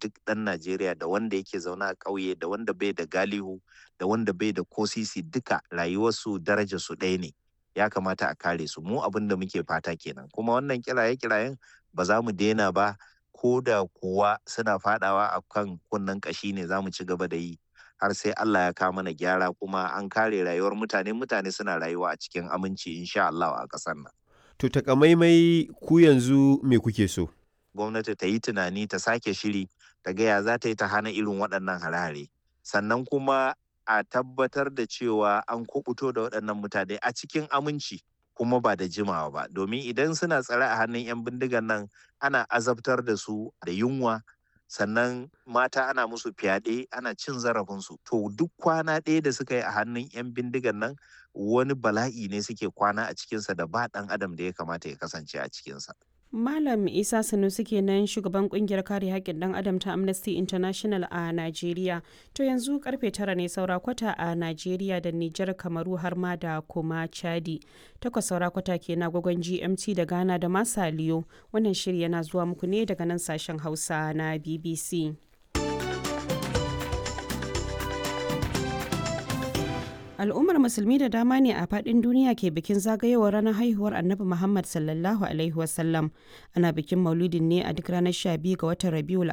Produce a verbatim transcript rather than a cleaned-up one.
duk ɗan Najeriya, da wanda yake zaune a ƙauye, da wanda bai da galihu, da wanda bai da kosisi, duka rayuwarsu darajarsu ɗaya ne. Ya kamata a kare su. Mu abin da muke fata kenan. Kuma wannan kiraye-kirayen ba za mu daina ba, ko da kuwa suna fadawa a kan kunnen ƙashi ne, za mu ci gaba da yi har sai Allah ya kawo mana gyara kuma an kare rayuwar mutane, mutane suna rayuwa a cikin aminci insha Allah a ƙasar nan. To takamaimai ku yanzu me kuke so? Gwamnati ta yi tunani, ta sake shiri, ta ga ya za ta yi ta hana irin waɗannan hare-hare. Sannan kuma a tabbatar da cewa an kubuto da waɗannan mutane a cikin aminci kuma ba da jimawa ba, domin idan suna tsare a hannun 'yan bindigan nan ana azabtar da su da yunwa, sannan mata ana musu fyaɗe, ana cin zarafinsu. To duk kwana ɗaya da suka yi a hannun 'yan bindigan nan wani bala'i ne suke kwana a cikinsa da ba ɗan adam da ya kamata ya kasance a cikinsa. Malam Isa Sanusi kenan, shugaban kungiyar kare haƙƙin ɗan adam ta Amnesty International a Najeriya. To yanzu karfe tara ne saura kwata a Najeriya da Nijar, Kamaru har ma da kuma Chadi. Takwas saura kwata ke na gwagwan G M T da Ghana da Masaliyo. Wannan shiri yana zuwa muku ne daga nan sashen Hausa na B B C. Al'ummar Musulmi da dama ne a faɗin duniya ke bikin zagayowar ranar haihuwar Annabi Muhammad sallallahu Alaihi wasallam. Ana bikin Maulidin ne a duk ranar sha biyu ga watan Rabiul